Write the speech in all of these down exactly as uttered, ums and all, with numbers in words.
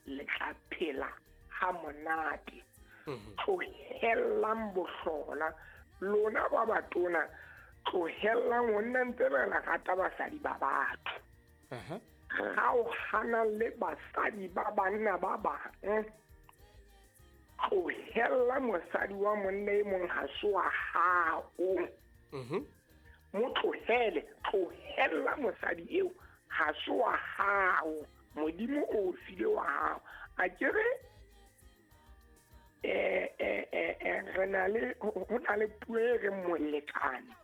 Le tla phela ha monate. Tlohellang bohlola lona ba batona, tlohellang ho nna ntse re rata basadi ba batho. Kgaohana le basadi ba banna ba bang. Tlohella mosadi wa monna e mong ha se wa hao. Mo tlohele, tlohella mosadi eo ha se wa hao. Modimo o file wa hao. A ke re eh eh eh re na le ho na le puo e re molekane.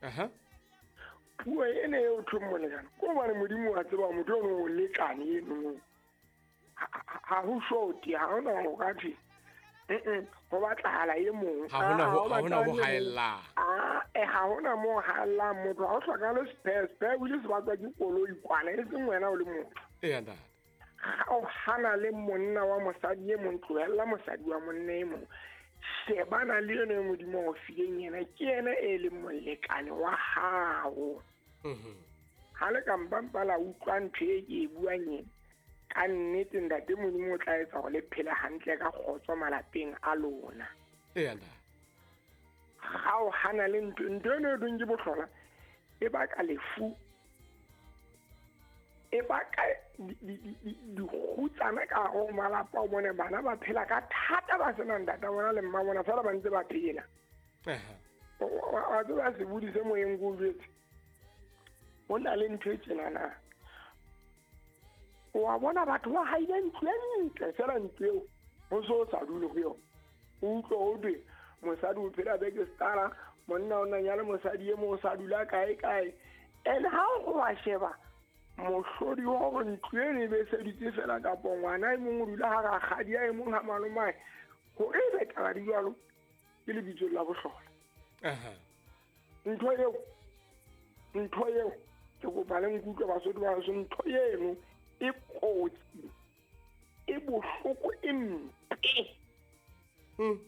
Aha. Puo ena eo thwe molekane. Ko hobane Modimo wa tseba motho ono o lekane eno. Ha ho shoti, ha hona ho ka thwe. Mm ho batlahala e mong. Ha hona ho ha hona ho haella. Ah, eh ha hona mo haella motho, ha o hlokahale spare, spare o ile se batswa ke koloi kwana e seng wena o le motho. Eya ntate. Ha o hana le monna wa mosadi e mong, tlohella mosadi wa monna e mong. Shebana le yena e Modimo o fileng yena, ke yena e leng molekane wa hao. Mhm. Ha le ka mpampa la utlwa ntho e ke e buang ena, ka nnete ntate Modimo o tla etsa hore le phele hantle ka kgotso malapeng a lona. Eya ntate. Ha o hana le ntho, ntho eno e dong ke bohlola, e baka lefu, e baka dikgutsana ka hare ho malapa. O bone bana ba phela ka thata ba sena ntata bona le mma bona, fela ba ntse ba phela. Wa tseba sebodi se moyeng ko o jwetse, ho na le ntho e tjenana. Wa bona batho ba haile ntlo e ntle, fela ntlo eo ho so sa dule ho yona. O utlwe ho thwe mosadi o phela Bekestara, monna o na nyale mosadi e mong o sa dula kae kae. And ha o wa sheba mohlodi wa hore ntlo eno e be seditse fela, kapa ngwana e mong o dula ha rakgadi a e mong ha malomae, hore e be taba di jwalo ke lebitso la bohlola. Aha. Ntho eo, ntho eo ke kopa le nkutlwe Basotho ba heso, ntho eno e kotsi, e bohloko, e mpe. Mm.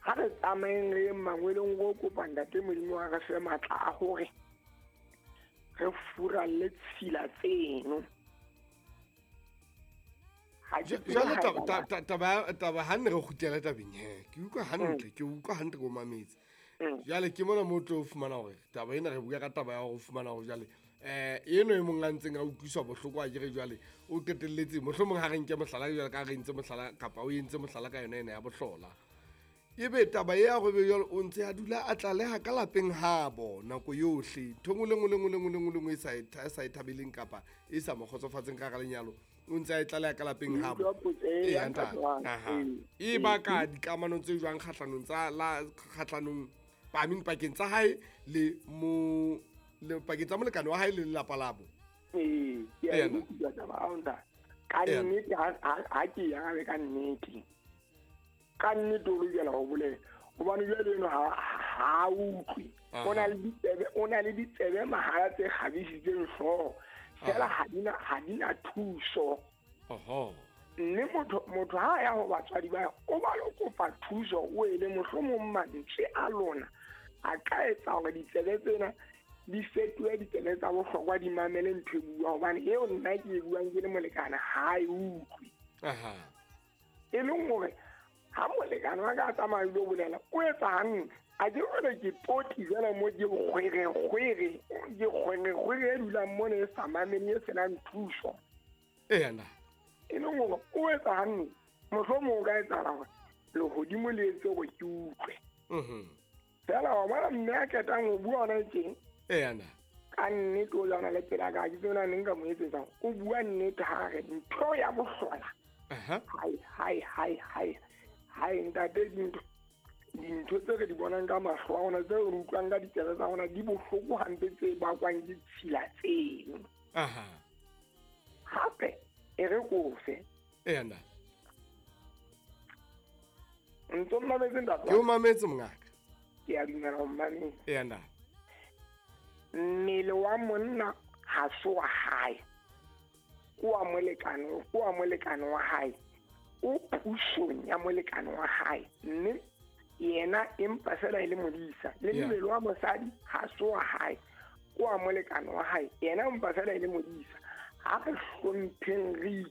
Ha re tsamayeng re yeng mangweleng ro kopa ntate Modimo wa re fe matla a hore re furalle tshila tseno. Jwale taba taba ha ne re kgutlela tabeng he, ke utlwa hantle, ke utlwa hantle ko mametse. Jwale ke mona mo tlo fumana hore taba ena re bua ka taba ya ho fumana hore jwale eh eno e mong a ntseng a utlwiswa bohloko a kere jwale o qetelletse mohlomong ha re nke mohlala jwale ka re ntse mohlala kapa o entse mohlala ka yona ena ya bohlola. Ebe taba ya go be jwale o ntse a dula a tlaleha ka lapeng habo nako yohle, ntho nngwe le nngwe le nngwe le nngwe le nngwe le nngwe e sa e sa e thabeleng kapa e sa mo kgotsofatseng ka hara lenyalo, o ntse a e tlaleha ka lapeng habo. Eya ntate. Aha. E baka dikamano tse jwang kgahlanong tsa la kgahlanong I mean pakeng tsa hae le mo le pakeng tsa molekane wa hae le lelapa labo. Ee, ke a utlwa taba ao ntate. Ka nnete ha ke ya ka nnete. Ka nnete o lokela ho bolela hobane jwale eno ha ha utlwe. O na le ditsebe, o na le ditsebe mahala tse kgabisitseng hlooho fela ha di na ha di na thuso. Oho. Mme motho motho ha ya ho batswadi ba o ba lo kopa thuso, o ele mohlomong mantswe a lona a ka etsa hore ditsebe tsena di fetohe ditsebe tsa bohlokwa, di mamele ntho e buang, hobane eo nna ke e buang ke le molekane ha e utlwe. Aha. E leng hore ha molekane wa ka a tsamaya lo bolela o etsa hantle, a ke hore ke poti jwale mo ke kgwere kgwere ke kgwere kgwere e dulang mona e sa mamele e senang thuso. Eya nna. E leng hore o etsa hantle, mohlomong o ka etsahala hore lehodimo le etse hore ke utlwe. Mhm. Fela wa bona mme a qetang ho bua hona teng. Eya nna. Ka nnete o lwana le pela ka ke tsena neng ka mo etsetsang, o bua nnete ha re ntho ya bohlola. Aha. Hai hai hai hai. Hai ntate, dintho dintho tse re di bonang ka mahlo a rona, tse re utlwang ka ditsebe tsa rona di bohloko hampe, tse bakwang ke tshila tseno. Aha. Hape e re kofe. Eya nna. Ntso mmametse ntate. Ke o mametse mongaka. Ke a dumela ho mmametse. Eya nna. Mmele wa monna ha se wa hae, ke wa molekane, ke wa molekane wa hae, o pusong ya molekane wa hae, mme yena empa fela e le modisa. Le mmele wa mosadi ha se wa hae, ke wa molekane wa hae, yena empa fela e le modisa. Ha re hlompheng, re